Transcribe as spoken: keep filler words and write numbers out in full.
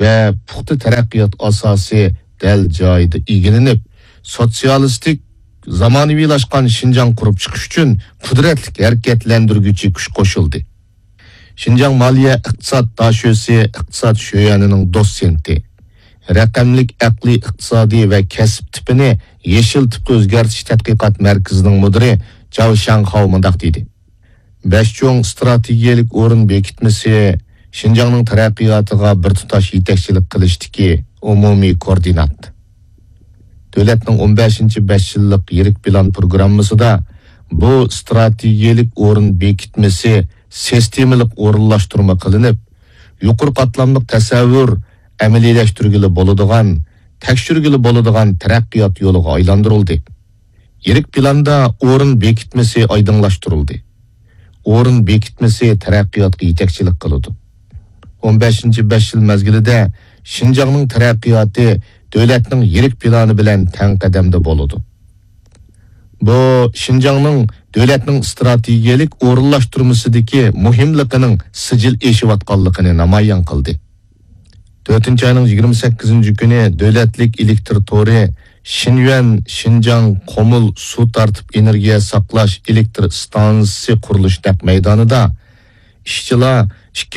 ۋە پۇختا تەرەققىيات ئاساسى دەل جايىدا ئىگىلىنىپ، سوتسىيالىستىك زامانىۋىلاشقان شىنجاڭ قۇرۇپ چىقىش ئۈچۈن قۇدرەتلىك ھەرىكەتلەندۈرگۈچى كۈچ قوشۇلدى. شىنجاڭ مالىيە ئىقتىساد داشۆسى ئىقتىساد شۆيەنىنىڭ دوتسېنتى، رەقەملىك ئەقلىي ئىقتىسادىي ۋە كەسىپ تىپىنى يېشىل تىپقا ئۆزگەرتىش تەتقىقات مەركىزىنىڭ مۇدىرى جاۋ شياڭخاۋ مۇنداق دېدى: بەش چوڭ ئىستراتېگىيەلىك ئورۇن بېكىتمىسى شىنجاڭنىڭ تەرەققىياتىغا بىر تۇتاش يېتەكچىلىك قىلىشتىكى ئومۇمىي كوئوردىنات. دۆلەتنىڭ ئون بەشىنچى بەش يىللىق يىرىك پىلان پروگراممىسىدا بۇ ئىستراتېگىيەلىك ئورۇن بېكىتمىسى سىستېمىلىق ئورۇنلاشتۇرما قىلىنىپ، يۇقىرى قاتلاملىق تەسەۋۋۇر ئەمەلىيلەشتۈرگىلى بولىدىغان، تەكشۈرگىلى بولىدىغان تەرەققىيات يولىغا ئايلاندۇرۇلدى. يىرىك پىلاندا ئورۇن بېكىتمىسى ئايدىڭلاشتۇرۇلدى. ئورۇن بېكىتمىسى تەرەققىياتقا يېتەكچىلىك قىلىدۇ. ئون بەشىنچى بەش يىل مەزگىلىدە شىنجاڭنىڭ تەرەققىياتى دۆلەتنىڭ يىرىك پىلانى بىلەن تەڭ قەدەمدە بولىدۇ. بۇ شىنجاڭنىڭ دۆلەتنىڭ ئىستراتېگىيەلىك ئورۇنلاشتۇرمىسىدىكى مۇھىملىقىنىڭ سىجىل ئېشىۋاتقانلىقىنى نامايان قىلدى. تۆتىنچى ئاينىڭ يىگىرمە سەككىزىنچى كۈنى دۆلەتلىك ئېلېكتر تورى شىنيۈەن شىنجاڭ قومۇل سۇ تارتىپ ئېنېرگىيە ساقلاش ئېلېكتر ئىستانسىسى قۇرۇلۇش نەق مەيدانىدا ئىشچىلار ئىككىنچى